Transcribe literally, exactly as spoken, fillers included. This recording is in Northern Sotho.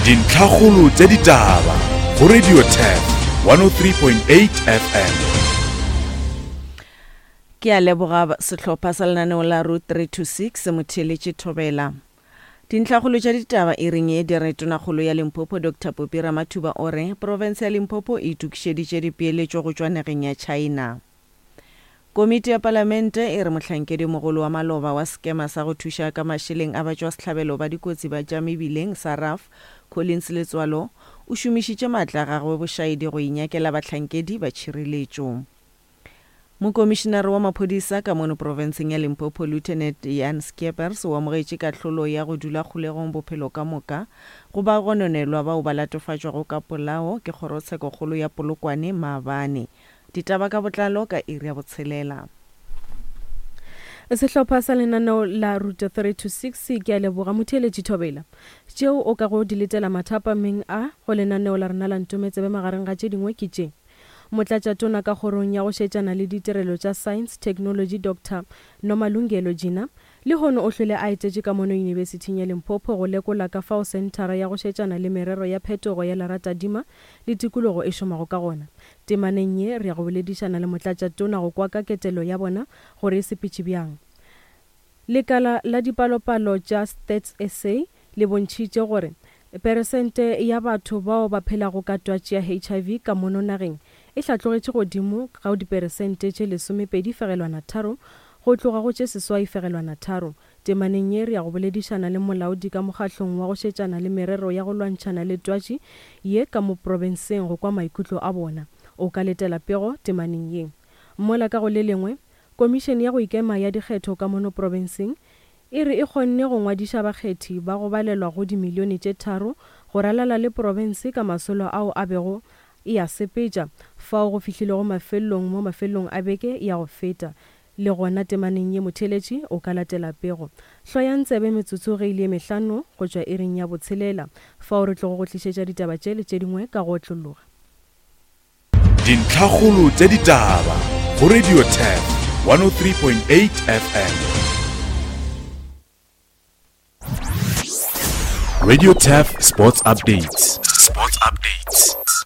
Dintlhakgolo tša ditaba go Radio Turf one oh three point eight F M. Ke a leboga sehlopha sa lenaneo la Route three two six motheeletše Thobela. Dintlhakgolo tša ditaba e reng e dire tonakgolo ya Limpopo Doctor Phophi Ramathuba o re profense ya Limpopo e itokišeditše dipeeletšo go tšwa nageng ya China. Komiti ya Palamente e re mohlankedi mogolo wa maloba wa sekema sa go thuša ka mašeleng a batšwasehlabelo ba dikotsi ba tša mebileng sa R A F, Collins Letswalo, o šomišitše maatla a gagwe bošaedi go inyakela bahlankedi ba tšhireletšo. Mokomišinare wa maphodisa ka mono profenseng ya Limpopo Lieutenant Jan Skeepers o amogetše kahlolo ya go dula kgolegong bophelo ka moka go ba gononelwa bao ba latofatšwago ka polao ke kgorotshekokgolo ya Polokwane maabane. Ditaba ka botlalo ka iri ya botshelela. Sehlopha sa lenaneo la Route three two six ke a leboga motheeletši Thobela. Tšeo o ka go di letela mathapameng a go lenaneo la rena la Ntometsebe magareng ga tše dingwe ke tše. Motlatšatona ka kgorong ya go šetšana le ditirelo tša Science, Technology Doctor Nomalungelo Gina lehono o hlwele a etetše ka mono Yunibesithing ya Limpopo go lekola ka fao senthara ya go šetšana le merero ya phetogo ya leratadima le tikologo e šomago ka gona. Temaneng ye re ya go boledišana le motlatšatona go kwa ka ketelo ya bona gore e sepetše bjang. Lekala la dipalopalo tša Stats S A le bontšhitše gore peresente ya batho bao ba phelago ka twatši ya H I V ka mono nageng e hlatlogetše godimo ga diperesente tše lesomepedi fegelwana tharo go tloga go tše seswai fegelwana tharo. Temaneng ye re ya go boledišana le molaodi ka mokgahlong wa go šetšana le merero ya go lwantšhana le twatši ye ka mo profenseng go kwa maikutlo a bona. O ka letela pego temaneng ye. Mola ka go le lengwe, komišene ya go ikema ya dikgetho ka mono profenseng e re e kgonne go ngwadiša bakgethi ba go balelwa go dimilione tše tharo go ralala le profense ka masolo ao a bego e a sepetša fao go fihlilego mafelelong mo mafelelong a beke ya go feta. Le gona temaneng ye motheeletši o ka latela pego. Hloyang tsebe metsotso ge e le ye mehlano go tšwa iring ya botshelela fao re tlogo go tlišetša ditaba tše le tše dingwe ka go otlologa. Dintlhakgolo tša ditaba go Radio Turf one oh three point eight F M. Radio Turf Sports Updates. Sports Updates.